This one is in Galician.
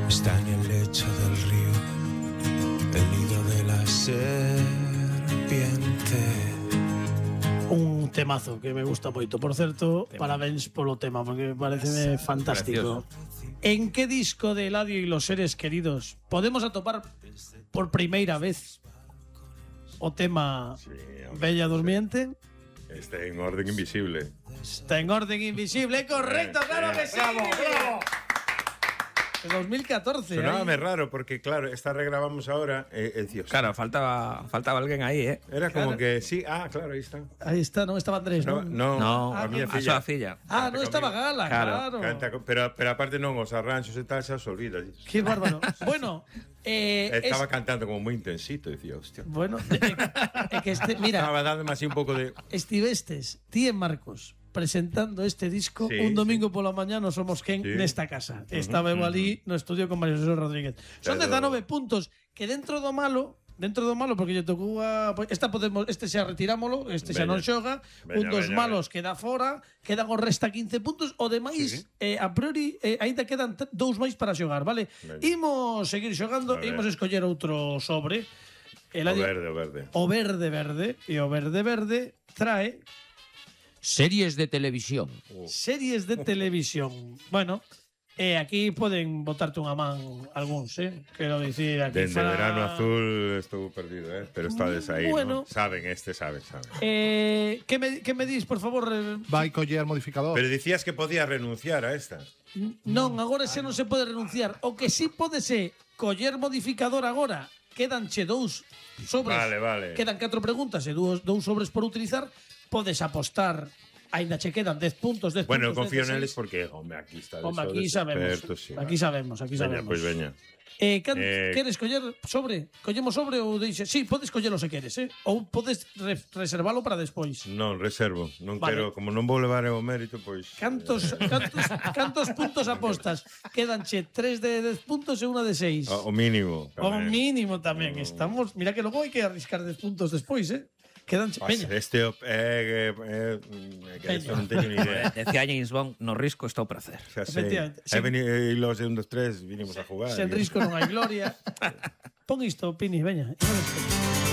está en el lecho del río, el nido de la serpiente. Un temazo que me gusta moito. Por certo, parabéns polo tema, porque parece fantástico. En que disco de Eladio y los seres queridos podemos atopar por primeira vez o tema Bella Durmiente? Está en Orden Invisible. Está en Orden Invisible, correcto, claro que sí. Bravo, bravo. De 2014. Sonábame raro porque, claro, esta regrabamos ahora. Dios. Claro, faltaba alguén aí, Era como que sí. Ah, claro, aí está. Ahí está, non estaba Andrés, non? No, a miña a súa filla. Ah, non estaba Gala, claro. Canta, pero aparte non, os arranxos e tal xa se olvida. Qué bárbaro. Bueno, estaba cantando como moi intensito, dicía, hostia. Bueno, que mira, estaba dando así un pouco de... Estivestes, ti e Marcos, presentando este disco un domingo pola mañá no Somos Quen nesta casa. Estaba eu ali no estudio con Mario José Rodríguez. Son 19 puntos que dentro do malo, porque lle tocou a este xa retirámolo, este xa non xoga, un dos malos queda fora, quedan o resta 15 puntos, o demais a priori aínda quedan dous máis para xogar, vale? Imos seguir xogando, imos escoller outro sobre. O verde. O verde, e o verde trae series de televisión. Series de televisión. Bueno, aquí poden botarte unha man algúns, quero dicir, aquí Dende Verano Azul estou perdido, pero estades aí, bueno, ¿no? Saben. Que me dis, por favor? Vai coller modificador. Pero dicías que podías renunciar a esta. Non, agora xa non se pode renunciar. O que sí pode ser coller modificador agora. Quedanche dous sobres. Vale. Quedan 4 preguntas e dous sobres por utilizar. Podes apostar. Ainda che quedan 10 puntos, 10 bueno, puntos. Bueno, confío neles porque, aquí está. Aquí sabemos. Aquí sabemos. Veña, pois veña. Queres coller sobre? Collemos sobre ou deixe? Sí, podes collelo se queres, ou podes reservalo para despois. Non, reservo. Non quero, como non vou levar o mérito, pois... Cantos puntos apostas? Quedanche 3 de 10 puntos e 1 de 6. O mínimo. O mínimo tamén. Estamos, mira que logo hai que arriscar 10 puntos despois, Quedanche, veña. Este non teño ni idea. Decía James Bond, no risco está o pracer. Efectivamente. E los de 1, 2, 3 vinimos a jugar. Sen risco non hai gloria. Pon isto, Pini, veña.